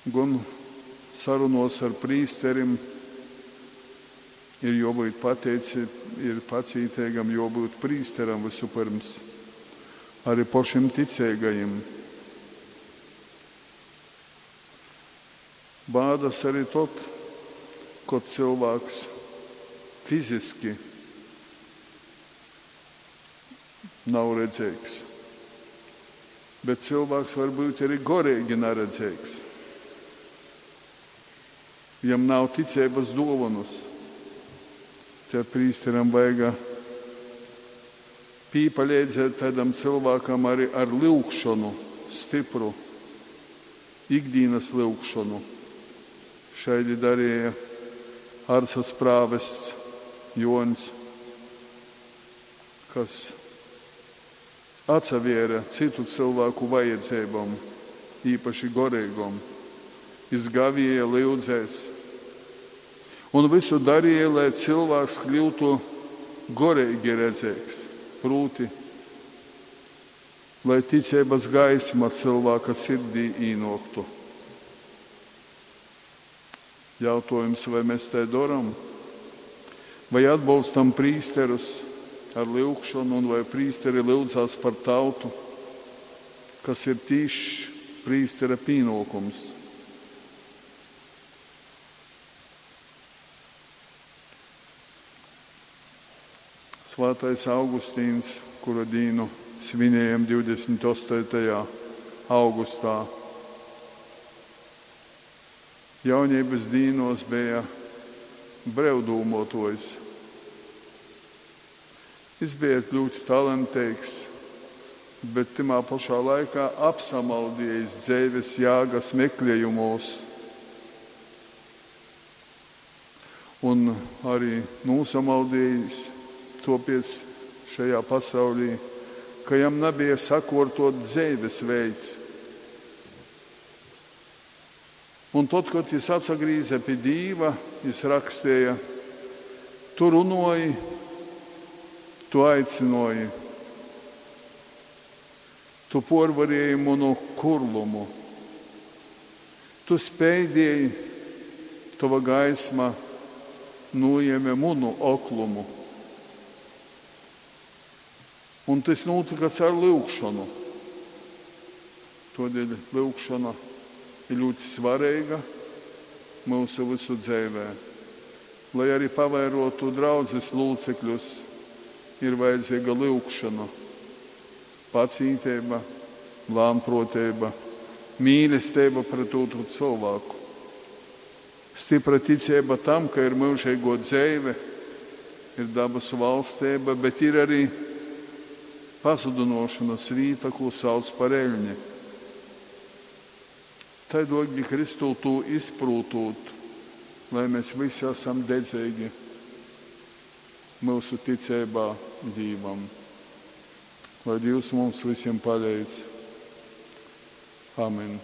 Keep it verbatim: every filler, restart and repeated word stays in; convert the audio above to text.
Gon sarunuos ar prīsterim ir juobyut pateici, ir pacīteigam juobyut prīsteram vysupyrms, arī pošim ticeigajim. Bādas arī tod, kod cylvāks fiziski nav redzeigs. Bet cylvāks var būt arī goreigi naredzeigs. Jam nav ticeibas duovanas. Te prīsteram vajaga pīpaleidzēt tādam cylvākam arī ar lyugšonu stypru, ikdīnas lyugšonu. Šaidi darīja Arcas prāvests Juoņs, kas atsavēra citu cylvāku vajadzeibom, īpaši goreigom. Jis gavieja, lyudzēs un visu darīja, lai cylvāks kļūtu goreigi redzeigs, prūti, lai ticeibas gaisma cylvāka sirdī īnōktu. Jautōjums, vai mēs tai doram? Vai atbolstam prīsterus ar lyugšonu, un vai prīsteri lyudzās par tautu, kas ir tīšs prīstera pīnōkums? Svātais Augustīns, kura dīnu svinējam divdesmit astotajā augustā, jaunības dīnos bija brevdūmuotuojs. Jis bija ļoti talanteigs, bet tymā pašā laikā apsamaldījis dzeives jāgas meklējumos un arī nūsamaldījis topiec šajā pasaulī, ka jam nebija sakortot dzeives veids. Un tad, kad jis atsagrīze pie Dīva, jis rakstīja, tu runoji, tu aicinoji, tu porvarēji munu kurlumu, tu speidēji, tava gaisma nojēma munu oklumu. Un tas notika caur lyugšanu. Todēļ lyugšana ir ļoti svarīga mūsu visu dzīvē. Lai arī pavairotu draudzes locekļus, ir vajadzīga lyugšana, pacietība, lānprotība, mīlestība pret otru cilvēku. Stipra ticība tam, ka ir mūžīgo dzīve, ir dabas valstība, bet ir arī pazudinošanas vīta, ko sauc par eļni. Tai dogi Kristū tū izprūtūt, lai mēs visi esam dedzīgi mūsu ticībā Dīvam. Lai Dievs mums visiem palīdz. Amen.